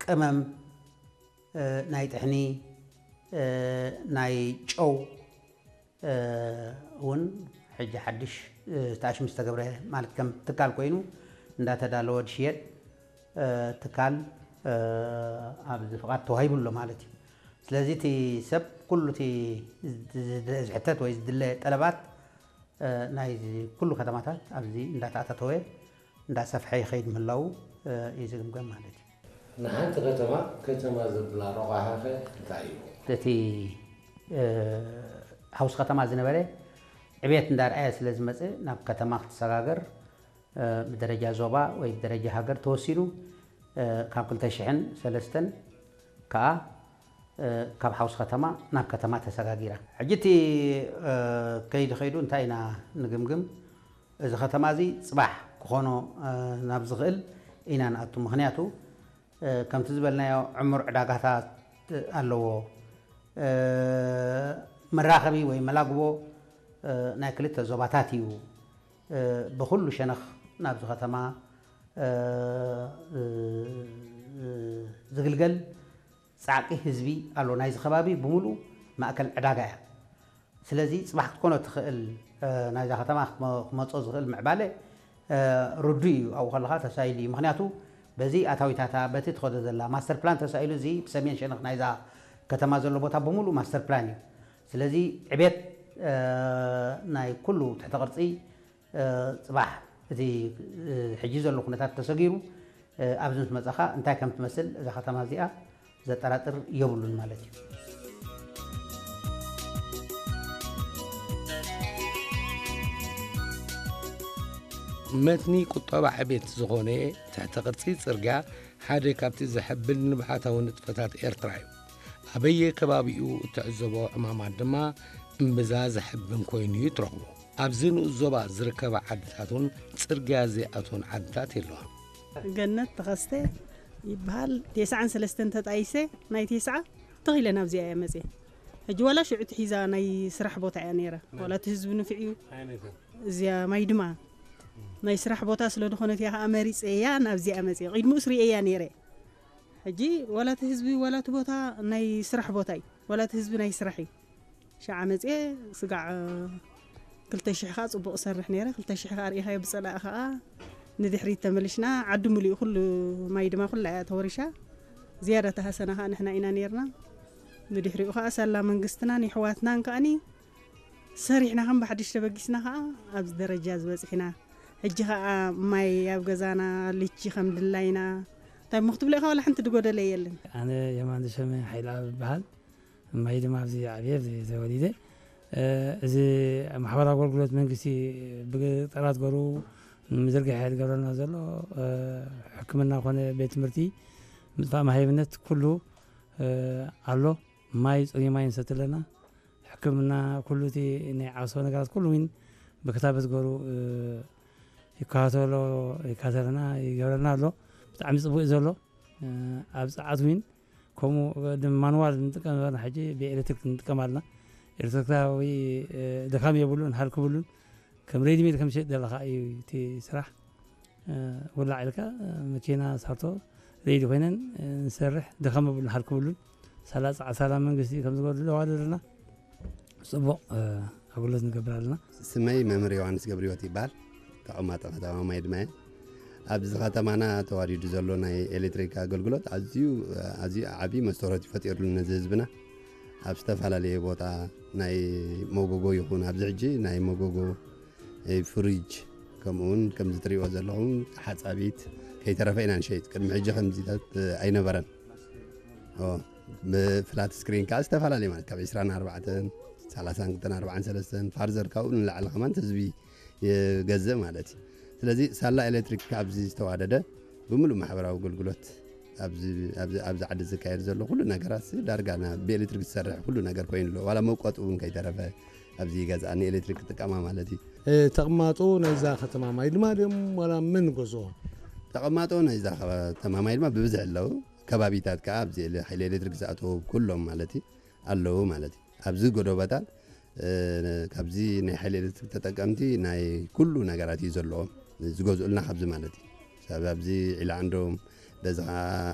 ቀመም፣ እ፣ ናይ ጥሕኒ፣ እ፣ ናይ ጨው፣ እ፣ እውን ሕጂ ሓድሽ፣ እ፣ ተኣሽሙ ዝተገብረ ማለት ከም ትካል ኮይኑ እንዳተዳለወ ዝሽየጥ፣ እ፣ ትካል፣ እ፣ ኣብዚ ፍቓድ ተዋሂቡ ኣሎ ማለት እዩ። ስለዚ እቲ ሰብ ኩሉ እቲ ዝ-፣ ዝ-፣ ዝሕተት ወይ ዝድለ ጠለባት፣ እ፣ ናይ ኩሉ ከተማታት ኣብዚ እንዳተኣታተወ እንዳሰፍሐ ይኸይድ ምህላዉ፣ እ፣ እዩ ዝግምገም ማለት እዩ። ንሓንቲ ከተማ ከተማ ዘብላ ረቋሓኸ እንታይ እዩ? እቲ፣ እ፣ ሃውስ ከተማ ዝነበረ ዕቤት እንዳርኣየ ስለ ዝመጽእ ናብ ከተማ ክትሰጋገር፣ እ፣ ብደረጃ ዞባ ወይ ብደረጃ ሃገር ተወሲኑ፣ እ፣ ካብ ክልተ ሽሕን ሰለስተን ከኣ፣ እ፣ ካብ ሓውስ ከተማ ናብ ከተማ ተሰጋጊራ። ሕጂ እቲ፣ እ፣ ከይዱ ከይዱ እንታይ ኢና ንግምግም? እዚ ከተማ እዚ ጽባሕ ክኾኖ፣ እ፣ ናብ ዝኽእል ኢና ንኣቱ። ምኽንያቱ፣ እ፣ ከምቲ ዝበልናዮ ዕሙር ዕዳጋታት ኣለዎ። እ፣ መራኸቢ ወይ መላግቦ፣ እ፣ ናይ ክልተ ዞባታት እዩ። እ፣ ብኹሉ ሸነኽ ናብዚ ከተማ፣ እ፣ እ፣ እ፣ ዝግልገል ጻዕቂ ህዝቢ ኣሎ። ናይዚ ከባቢ ብምሉእ ማእከል ዕዳጋ እያ። ስለዚ ጽባሕ ክትኮኖ ትኽእል፣ እ፣ ናይዛ ከተማ ክመ-፣ ክመጾ ዝኽእል ምዕባለ፣ እ፣ ርዱእ እዩ። ኣብኡ ከለኻ ተሳኢሉ እዩ። ምኽንያቱ በዚ ኣታዊታታ፣ በቲ ትኸዶ ዘላ ማስተር ፕላን ተሳኢሉ፣ እዚ ብሰሜን ሸነኽ ናይዛ ከተማ ዘሎ ቦታ ብምሉእ ማስተር ፕላን እዩ። ስለዚ ዕቤት፣ እ፣ ናይ ኩሉ ትሕተ ቅርጺ፣ እ፣ ጽባሕ እቲ፣ እ፣ ሕጂ ዘሎ ኩነታት ተሰጊሩ፣ እ፣ ኣብዚ ምስ መጻኻ እንታይ ከም ትመስል እዛ ከተማ እዚኣ ዘጠራጥር የብሉን ማለት እዩ። መትኒ ቁጠባ ዕቤት ዝኾነ ትሕተ ቅርጺ ጽርግያ ሓደ ካብቲ ዘሐብን ንብዓታዊ ንጥፈታት ኤርትራ እዩ። ኣበየ ከባቢኡ እትዕዘቦ ዕማማት ድማ እምብዛ ዘሐብን ኮይኑ እዩ ትረኽቦ። ኣብዚ ንኡስ ዞባ ዝርከባ ዓድታት እውን ጽርግያ ዘይኣትወን ዓድታት የለዋ። ገነት ተኸስተ ይበሃል። ቴስዓን ሰለስተን ተጣይሰ ናይ ቴስዓ ተኺለ ናብዚኣ እየ መፅየ። ሕጂ ዋላ ሽዑ ትሒዛ ናይ ስራሕ ቦታ እያ ነይራ። ዋላ እቲ ህዝቢ ንፍዕ እዩ። እዚኣ ማይ ድማ ናይ ስራሕ ቦታ ስለ ዝኾነት እያ ከዓ መሪፀ እያ ናብዚኣ መፅየ። ቅድሚኡስ ርእየ እያ ነይረ። ሕጂ ዋላ እቲ ህዝቢ ዋላ እቲ ቦታ ናይ ስራሕ ቦታ እዩ። ዋላ እቲ ህዝቢ ናይ ስራሕ እዩ። ሸዓ መፅየ ስጋዕ ክልተ ሽሕ ከዓ ፅቡቕ እሰርሕ ነይረ። ክልተ ሽሕ ከዓ ርኢኻዮ ብፀላኢ ከዓ ንድሕሪት ተመሊሽና። ዓዲ ሙሉእ ኩሉ ማይ ድማ ኩላ እያ ተወሪሻ። ዝያዳ ተሃሰና ከዓ ንሕና ኢና ነይርና። ንድሕሪኡ ከዓ ሳላ መንግስትናን የሕዋትናን ከዓኒ ሰሪሕና ከም ብሓድሽ ተበጊስና ከዓ ኣብዚ ደረጃ ዝበፅሕና። ሕጂ ከዓ ማይ ኣብ ገዛና ልቺ ከም ድላይና እንታይ እሞ ክትብሎ ኢኻ ዋላ ሓንቲ ዝጎደለ የለን። ኣነ የማን ዝሸመ ሓይልኣብ ይበሃል። ማይ ድማ ኣብዚ ዓብየ ኣብዚ ተወሊደ። እዚ ማሕበራዊ ኣገልግሎት መንግስቲ ብገጠራት ገሩ ንምዝርግሐ ዝገብረልና ዘሎ ሕክምና ኮነ ቤት ትምህርቲ ምጥፋእ ማሃይምነት ኩሉ ኣሎ። ማይ ፅሩይ ማይ ንሰቲ ኣለና። ሕክምና ኩሉ እቲ ናይ ዓሶ ነገራት ኩሉ እውን ብክታበት ገሩ ይከታተሎ ይከታተለና ይገብረልና ኣሎ። ብጣዕሚ ፅቡቅ እዩ ዘሎ። ኣብ ፀዓት እውን ከምኡ ማንዋል ንጥቀም ነበርና። ሕጂ ብኤሌክትሪክ ንጥቀም ኣለና። ኤሌክትሪካዊ ድኻም የብሉን፣ ሃልክ ብሉን። ከም ሬዲሜድ ከም ሸጥ ዘለካ እዩ እቲ ስራሕ። ውላዕ ኢልካ መኪና ሳርቶ ሬዲ ኮይነን ንሰርሕ፣ ድኻም የብሉን፣ ሃልክ ብሉን። ሳላ ፀዓት ሳላ መንግስቲ ከም ዝገድሉ ኣለና። ፅቡቕ ኣገልግሎት ንገብር ኣለና። ስመይ መምህር ዮሃንስ ገብረህይወት ይበሃል። ተቐማጢ ከተማ ማይ ድማ እየ። ኣብዚ ከተማና ተዋዲዱ ዘሎ ናይ ኤሌክትሪክ ኣገልግሎት ኣዝዩ ኣዝዩ ዓቢ መስተርሆት እዩ ፈጢሩሉ ነዚ ህዝብና። ኣብ ዝተፈላለየ ቦታ ናይ መጎጎ ይኹን ኣብዚ ሕጂ ናይ መጎጎ ፍሪጅ ከምኡ እውን ከምዚ ትሪእዎ ዘለኹም ሓፃቢት ከይተረፈ ኢና ንሸይጥ። ቅድሚ ሕጂ ከምዚታት ኣይነበረን። ብፍላት ስክሪን ከዓ ዝተፈላለዩ ማለት ካብ ዕስራን ኣርባዕተን ሰላሳን ክልተን ኣርባዓን ሰለስተን ፋርዘር ካብኡ ንላዕሊ ከማን ህዝቢ ይገዝእ ማለት እዩ። ስለዚ ሳላ ኤሌክትሪክ ኣብዚ ዝተዋደደ ብምሉእ ማሕበራዊ ኣገልግሎት ኣብዚ ዓዲ ዝካየድ ዘሎ ኩሉ ነገራት ዳርጋ ብኤሌክትሪክ ዝሰርሕ ኩሉ ነገር ኮይኑ ኣሎ። ዋላ መውቀጢ እውን ከይተረፈ ኣብዚ ገዛ ንኤሌክትሪክ ክጥቀማ ማለት እዩ። ተቕማጦ ናይዛ ከተማ ማይ ድማ ድም ዋላ መን ገዝኦ? ተቐማጦ ናይዛ ከተማ ማይ ድማ ብብዝሒ ኣለዉ። ከባቢታት ከዓ ኣብዚ ሓይሊ ኤሌክትሪክ ዝኣተዉ ኩሎም ማለት እዩ ኣለዉ ማለት እዩ። ኣብዚ ጎደቦታት ካብዚ ናይ ሓይሊ ኤሌክትሪክ ተጠቀምቲ ናይ ኩሉ ነገራት እዩ ዘለዎም ዝገዝኡልና ካብዚ ማለት እዩ። ሰብ ኣብዚ ዒላ ዓንዶም በዚ ከዓ